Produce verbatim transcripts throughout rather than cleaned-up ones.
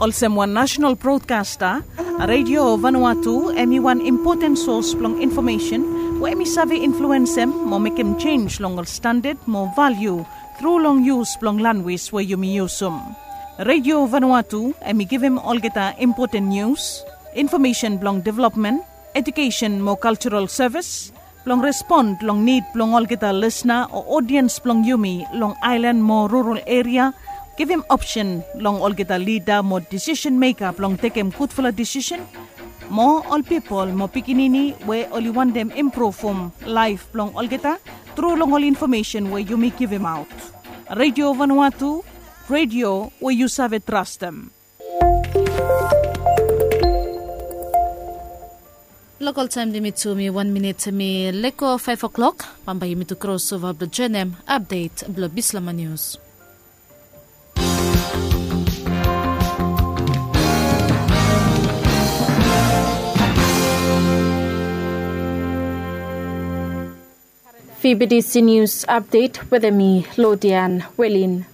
Olsem wan nasenal brodkasta, Redio Vanuatu hem i wan impoten sos blong infomesen we hem i save influensem mo mekem jenj long ol standad mo valiu tru long yus blong lanwis we yumi yusum. Redio Vanuatu hem i givim olgeta impoten nius, infomesen blong developmen, ejukesen mo kaljaral sevis, blong respon long nid blong olgeta lisna o odiens blong yumi long aelan mo rural eria, givim opsen long olgeta lida mo disisen meka blong tekem gudfala disisen, mo ol pipol mo pikinini we oli wantem impruvum laef blong olgeta tru long ol infomesen we yumi givimaot. Redio Vanuatu, redio we yu save trastem. Lokal taem limit tu mi wan minit mi lego faef o'klok. Bambae yumi tu krosova blong joenem apdet blong Bislama Nius. Fibidisi Nius apdet wetem mi Lodian Welin.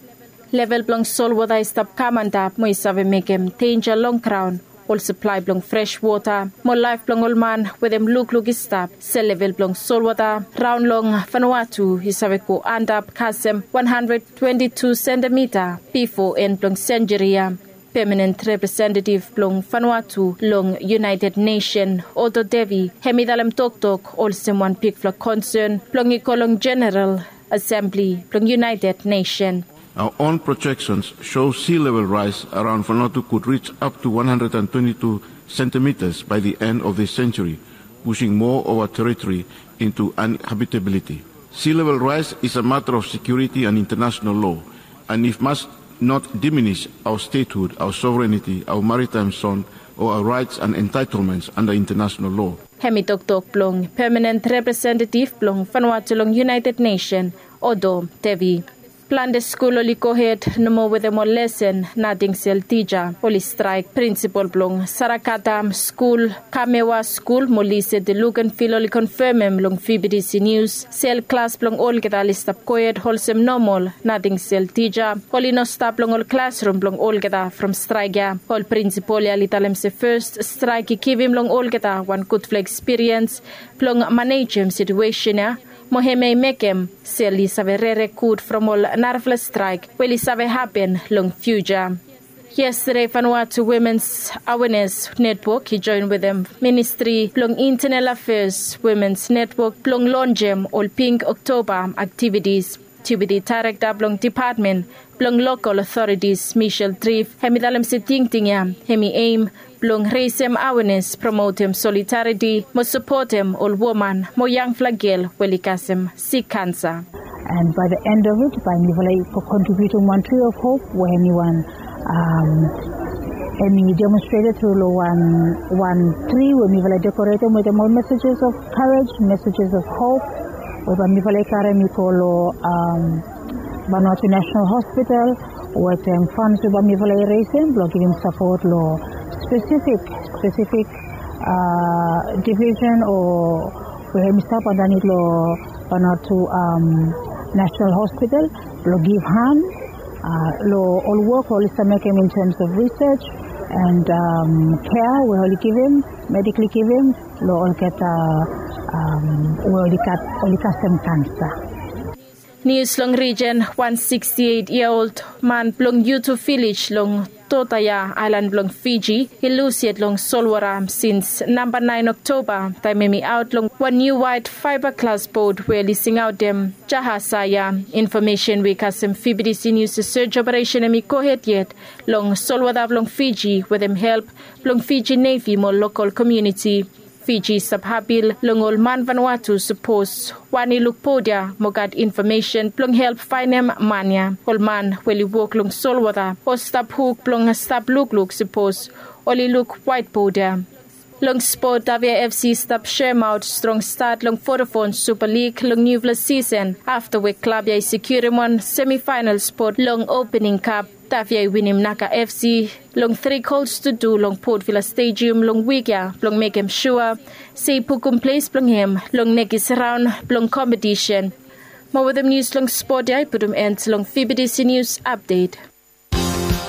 Level blong solwota i stap kam antap mo i save mekem denja long graon, ol saplae blong fres wota mo laef blong ol man wetem lukluk i stap se level blong solwota raon long Vanuatu i save go antap kasem wan handred twenti tu sentimita bifo en blong senjuri ya. Pemanen representetif blong Vanuatu long United Nesen, Oto Devi, hem i talem toktok olsem wan bigfala konsen blong i go long Jeneral Asembli blong United Nesen. Our own projections show sea level rise around Vanuatu could reach up to one hundred and twenty-two centimeters by the end of this century, pushing more of our territory into uninhabitability. Sea level rise is a matter of security and international law, and it must not diminish our statehood, our sovereignty, our maritime zone, or our rights and entitlements under international law. Hem i toktok blong pemanen representetif blong Vanuatu long United Nesen, Oto Devi. Plante skul oli gohed nomo wetem ol lesen, nating sel tija oli straek. Prinsipol blong Sarakatam skul, Kamewa skul mo Lise de Lukenvil oli konfemem long Fibidisi Nius sel klas blong olgeta oli stap gohed olsem nomol, nating sel tija oli no stap long ol klasrum blong olgeta from straek ya. Ol prinsipol ya oli talem se fes straek i givim long olgeta wan gudfala ekspiriens blong manejem situesen ya, mo hemia i mekem sel i save rere gud from ol narafala straek we oli save hapen long fiuja. Yestede Vanuatu Womens Awenes Netwok i joen wetem Ministri blong Intenal Afeas Womens Netwok blong lonjem ol Pink Oktoba aktivitis. Deputi Daerekta blong Depatmen blong Lokal Otoritis, Michelle Triff, hem i talem se tingting ya hem i eim blong resem awenes, promotem solidariti mo sapotem ol woman mo yangfala gel we oli kasem sik kansa. And by the end of it, bae mifala i go kontribiutum wan Tree of Hope we hem i wan, hem i demonstreted tru long wan, wan tri we mifala i dekoretem wetem ol messages of courage, messages of hope, we bae mifala i karem i go long Vanuatu National Hospital wetem fans we bae mifala i resem blong givim sapot long spesifik, spesifik division o we hem i stap andanit long Vanuatu National Hospital blong givhan long ol wok we oli stap mekem in terms of research and kea we oli givim, medikli givim long olgeta we oli gat, oli kasem kansa. Nius long rijen, wan siksti eit yia ol man blong Yutu vilej long Totaya, aelan blong Fiji, i lus yet long solwota sins namba naen Oktoba, taem hem i aot long wan niu waet faeba glas bot we oli singaotem Jahasaya. Infomesen we i kasem Fibidisi Nius se serj operesen hem i gohed yet long solwota blong Fiji wetem help blong Fiji Nevi mo lokal komuniti. Fiji i stap apil long ol man Vanuatu sapos wan i luk bot ya mo gat infomesen blong help faenem man ya. Ol man we oli wok long solwota o stap huk blong stap lukluk sapos oli luk waet bot ya. Long spot, Tavia FC i stap seremaot strong stat long Vodafone Super League long niufala sisen afta we klab ya i sekiurim wan semifaenal spot long Opening Cup. Tavia i winim Naga FC long tri gols tu tu long Port Vila Stadium long wik ya blong mekem sua se i bukum ples blong hem long nekis raon blong kompetisen. Mo wetem nius long spot ya i putum en long Fibidisi Nius Apdet.